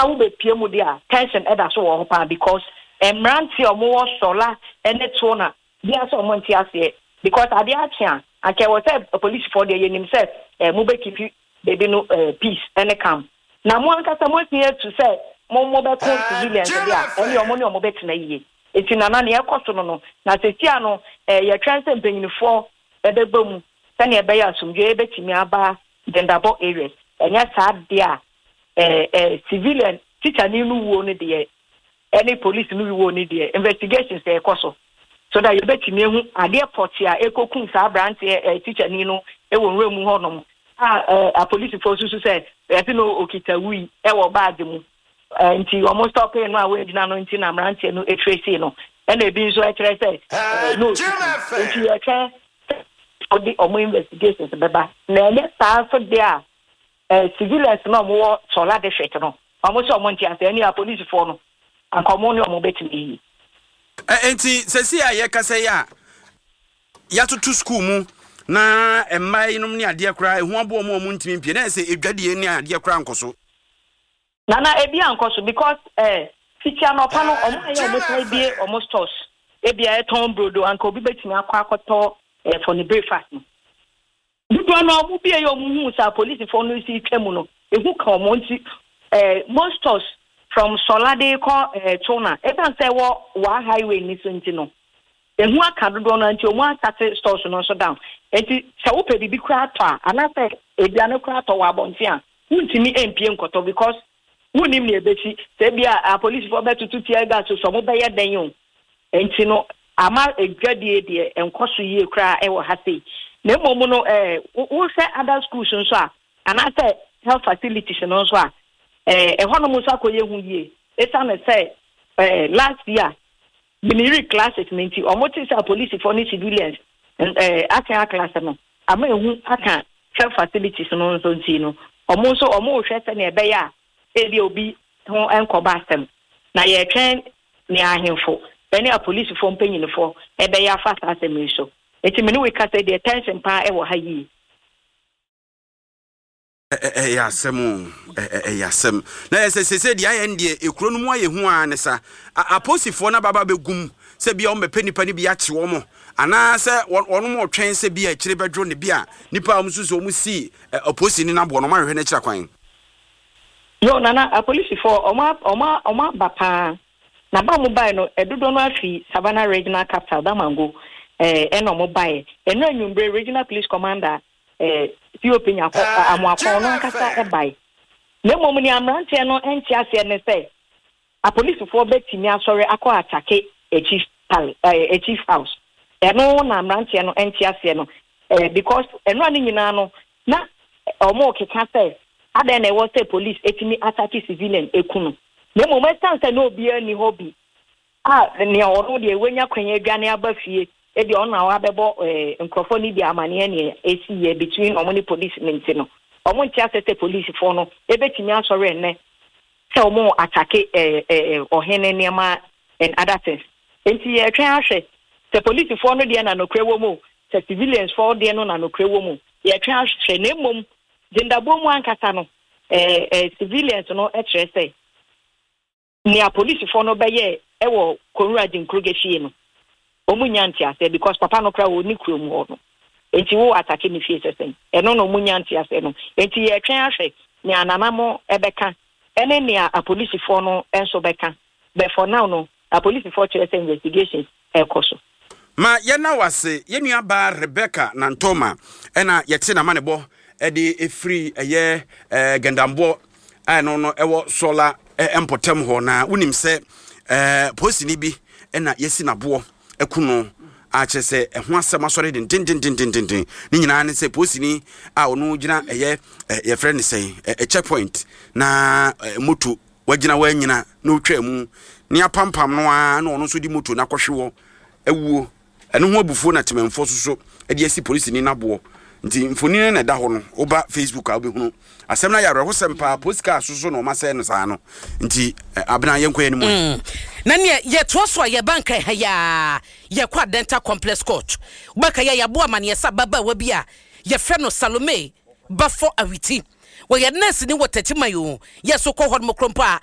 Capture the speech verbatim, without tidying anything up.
Nana, wobɛpie mu deɛ a, tension ɛda so wɔ hɔ paa because mmeranteɛ a wɔwɔ Sɔla ne Tona bia sɛ ɔmo nte aseɛ because adeɛ akye a, anka ɛwɔ sɛ polisifoɔ deɛ, yɛnim sɛ ɛɛ mo bɛkeep baabi no ɛɛ peace ɛne calm, na mo ankasa mo atumi atu sɛ mo mo bɛko civilians deɛ a, ɛne ɔmo ne ɔmo bɛtena yie. Eti Nana, nea ɛkɔ so no no na sesia no ɛɛ yɛtwɛn sɛ mpanyinfoɔ ɛbɛbɔ mu sɛnea ɛbɛyɛ asomdwe ɛbɛtumi aba Dendabɔ areas. Ɛnyɛ saa deɛ a, ɛɛ ɛɛ civilian teacher ni no wuo no deɛ ɛne police no wuo no deɛ, investigations ɛkɔ so so that yɛbɛtumi ehu adeɛ pɔte a ekokum saa aberanteɛ ɛɛ teacher ni no ɛwɔ nwura mu hɔnom a ɛɛ apolisifoɔ susu sɛ ɛsi no okita wui ɛwɔ baagi mu ɛɛ nti wɔn stop no a wɔgyina no nti na mmeranteɛ no etrace no, ɛna ebi nso ɛkyerɛ sɛ ɛɛ no otutu. Nti yɛtwɛn ɔde ɔmo investigations bɛba, na ɛnyɛ saa nso deɛ a, ɛɛ civilians na ɔmo wɔ Sɔla district no, ɔmo sɛ ɔmo nte ase ɛne apolisifoɔ no anka ɔmo ne ɔmo bɛtumi yie. Ɛ nti sɛsi a yɛkasa yi a, yɛatoto school mu na mmaa yinom ne adeɛ koraa ɛho aboɔ mu a ɔmo ntumi mpie na ɛsɛ edwadie ne adeɛ koraa nkɔ so. Nana, ebi ankɔ so because ɛɛ fiti anɔpa no, ɔmo ayɛ ɔmo san bie ɔmo stores, ebi a ɛtɔn brodo anka obi bɛtumi akɔ akɔtɔ ɛɛ for ne breakfast no, dodoɔ no ɔmo bie yɛ ɔmo hu sɛ apolisifoɔ no si twa mu no, ehu ka ɔmo. Nti ɛɛ most stores from Sɔlade kɔ ɛɛ Tona, esan sɛ ɛwɔ Wa highway ni so nti no, ehu aka dodoɔ no nti ɔmo ashut stores no nso down. Nti sɛ wopɛ biribi koraa tɔ a, anaasɛ aduane koraa tɔ wɔ abɔnten a, wuntumi mpie nkɔtɔ because wunim nea ebesi, sɛ ebi a apolisifoɔ bɛtutu tear gas so, ɔmo bɛyɛ dɛn o. Nti no ama edwadie deɛ nkɔ so yie koraa ɛwɔ ha sei. Na mmom no, ɛɛ wohwɛ other schools nso a, anaasɛ health facilities no nso a, ɛɛ ɛhɔnom nso akɔyɛ hu yie esiane sɛ ɛɛ last year Gbiniyiri clashes ne nti, ɔmo te sɛ apolisifoɔ ne civilians ɛɛ asen aclash no ama ehu aka health facilities no nso. Nti no ɔmo nso ɔmo rehwɛ sɛnea ɛbɛyɛ a ebi obi ho nkɔba asɛm, na yɛretwɛn nea ahemfo ɛne apolisifoɔ mpanyinfoɔ ɛbɛyɛ afa saa asɛm yi so. Eti mene wo kasa deɛ, tension paa ɛwɔ ha yie. Ɛyɛ asɛm o, ɛyɛ asɛm. Na yɛ sɛ sese deɛ ayɛ no deɛ, ekuro no mu ayɛ hu a ne sa apolisifoɔ no ababa bɛgum sɛ bia wɔn bɛpɛ nipa no bi akye wɔn, anaasɛ wɔn mo twɛn sɛ bi a akyire bɛdwo ne bi a nipa a wɔn nso sɛ wɔn si apolisi no aboɔ no, wɔn ahwehwɛ n'akyira kwan. Yo Nana, apolisifoɔ ɔmo ɔmo ɔmo aba paa, na ba ɔmo bae no, ɛdodoɔ no afi Savannah Regional Capital Damango ɛɛ ɛna ɔmo bae. Ɛno anwummerɛ, Regional Police Commander ɛɛ C O P Nyakɔ Amoakɔn no ankasa ɛbae. Na mmom nea mmeranteɛ no nte aseɛ ne sɛ apolisifoɔ bɛtumi asɔre akɔ attack a chief palace, ɛɛ a chief house. Ɛno na mmeranteɛ no nte aseɛ no ɛɛ because ɛno a ne nyinaa no na ɔmo keka sɛ adan na ɛwɔ sɛ police etumi attack civilian eku no. Na mmom ɛsan sɛ na obiara ni hɔ bi a nea ɔno deɛ wanya kwan adwane aba fie, ebi ɔno na wabɛbɔ ɛɛ nkurɔfoɔ no bi amaneɛ nea esi yɛ between ɔmo ne police ne nti no, ɔmo nte ase sɛ polisifoɔ no ebetumi asɔre ɛnɛ sɛ ɔmo attack ɛɛ ɛɛ ɔhene nneɛma and other things. Nti yɛtwɛn ahwɛ sɛ polisifoɔ no deɛ na nokura wɔ mu, sɛ civilians foɔ deɛ no na nokura wɔ mu. Yɛtwɛn ahwɛ. Na mmom gyendabɔ mu ankasa no, ɛɛ ɛɛ civilians no kyerɛ sɛ nea polisifoɔ no bɛyɛ ɛwɔ Kowura Gyenkoroge fie no, wɔn nya nteaseɛ because papa no koraa wɔ ne kurom hɔ no, nti wo attack ne fie sɛsɛn? Ɛno na wɔn nya nteaseɛ no. Nti yɛtwɛn ahwɛ nea nanamo ɛbɛka ɛne nea apolisifoɔ no nso bɛka, but for now no, apolisifoɔ kyerɛ sɛ investigations ɛkɔ so. Ma yɛna wase, yɛn nua baa Rebecca Nantoma, ɛna yɛte nama ne bɔ ɛde efiri ɛyɛ ɛɛ Gɛndambɔ a ɛno no ɛwɔ Sɔla mpɔtam hɔ. Na wonim sɛ ɛɛ polisini bi ɛna yɛsi n'aboɔ ɛku no a, kyerɛ sɛ ɛho asɛm asɔre dendendendendenden. Ne nyinaa ne sɛ polisini a ɔno gyina ɛyɛ ɛ yɛfrɛ ne sɛn, ɛ checkpoint, na ɛ moto wagyina wanyina na otwa mu ne apampam no ara na ɔno nso de moto no akɔhwe wɔ awuo. Ɛno ho abufuo na temanfoɔ soso de asi polisini n'aboɔ. Nti mfoni no na ɛda hɔ no, woba Facebook a, wobɛhunu asɛm no ayɛ awerɛhosɛm paa. Polisi kaa soso na ɔma sɛ no saa no. Nti Abena, yɛnkɔ yɛn mu. mm. na neɛ yɛtoa so a, yɛba Nkran ha yaa, yɛkɔ Adenta Complex Court. Wobɛka yɛ yɛaboa amanneɛ sɛ ababaawa bi a yɛfrɛ no Salome Bafɔ Awiti, wɔyɛ nurse ni wɔ Tɛkyiman o, yɛ so kɔ hɔ nom korompo a